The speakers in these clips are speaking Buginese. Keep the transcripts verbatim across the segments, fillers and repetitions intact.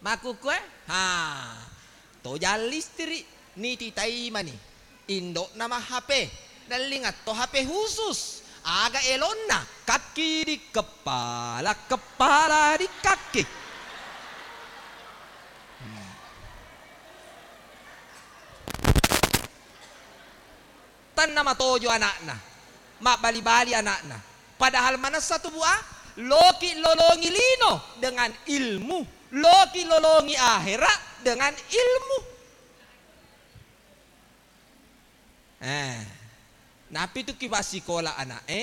Makkukue, ha, tojang listrik, niti taimani. Indo'na ma H P, nellinga to H P khusus. Aga elonna, kaki di kepala, kepala di kaki. Hmm. Tenna matojo ana'na, mabbali-bali ana'na. Padahal manessa tu, Bu, a, loki lolongi lino dengan ilmu, loki lolongi akhera dengan ilmu. Eh, napi tu ki passikola ana'e,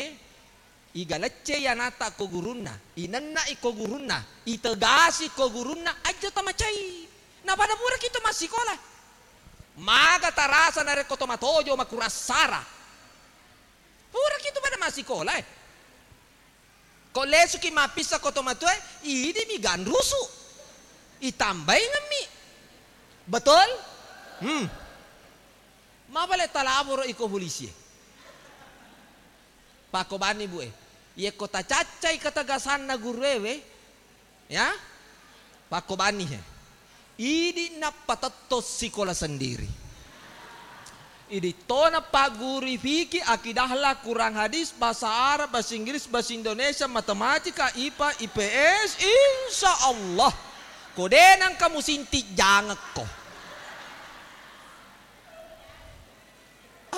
iga leccei anata ko gurunna, inenna iko gurunna, itegasi ko gurunna, ajjo tamacai. Napada pura ki to massikola. Maga tarasa narekko to matojo makurassara. Pura ki tu pada massikola, eh. Ko lesuki mappissa ko tomatoae, idi mi ganrusu. Itambaingemmi. Betul? Hmm. Mabale talaboro iko polisi e. Pakko banni, Bu, e. Yekko tacaccai ketegasanna guruewe, ya, pakko banni he. Idi nappa tetto sikola sendiri. Idi tona pagguru fiki, akidah lah, Quran hadis, bahasa Arab, bahasa Inggris, bahasa Indonesia, matematika, ipa, I P S, insya Allah. Ko de nang kamu sinti jangekko.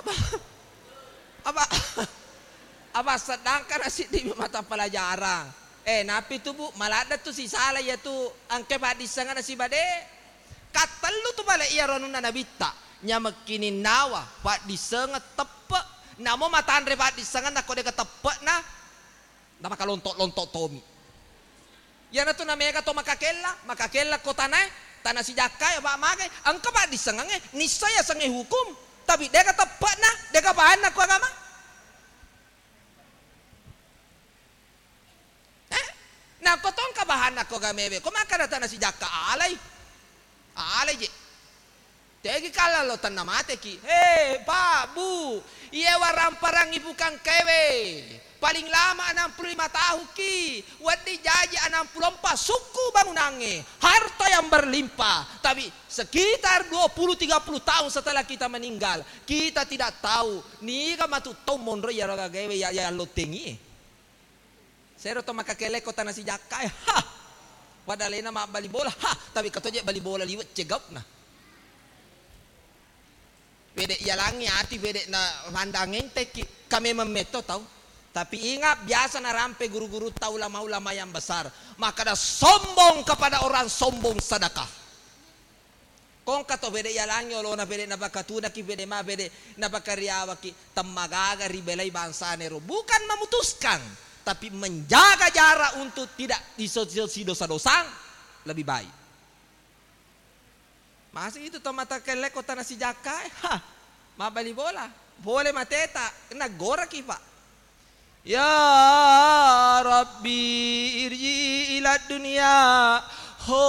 Apa? Apa? Apa sedangkan siddi mata pelajaran. Eh, napi tu, Bu, maladde tu sisala iya tu engka paddissengenna sibade. Kattellu tu bale iya ronunna nabitta. Nyamekki ninnawa paddissengeng teppe. Namo matanre paddissengenna ko dega teppe'na. Namakalonto-lonto tomi. Iyanatu namega to makakella, makakella ko tanae, tana sijakkae, apa magai, engka paddissengengnge, nissai asengnge hukum, tapi dega teppe'na, dega bahanna ko agama. Eh? Nako tongka bahanna ko agamewe, ko makkada tana sijakka alai. Alai je. Tegi kalla lo tenna mateki. He, Pak, Bu, iye waramparang ibu kangkewe. Paling lama enam puluh lima tahun ki. Wedding jaji enam puluh empat sukku bangunangnge. Harta yang berlimpah. Tapi sekitar dua puluh tiga puluh tahun setelah kita meninggal, kita tidak tahu niga matu tau monro iyaro gagaewe ya, ya lottengi. Sero to makakelle ko tana sijakkae, ha! Pada alena mabbali bola, ha! Tapi katoje bali bola liwe' cegaukna. Pede' yalangngi ati, pede' na pandang entekki, ka memang metto tau. Tapi ingat, biasa narampe guru-gurutta, ulama-ulama yang besar, makkada sombong kepada orang sombong sedekah. Kongka to pede' yalangngi olona, pede' napakatunaki, pede' ma, pede' napakariawaki, temmagaga ribelai bangsanero. Bukan memutuskan, tapi menjaga jarak untuk tidak diso-, sidosa-dosang lebih baik. Masih itu to mata kelle ko tana sijakkae, ha, mabbali bola, pole mateta, naggoraki, Pak. Ya Rabbi, irji ila dunia, ho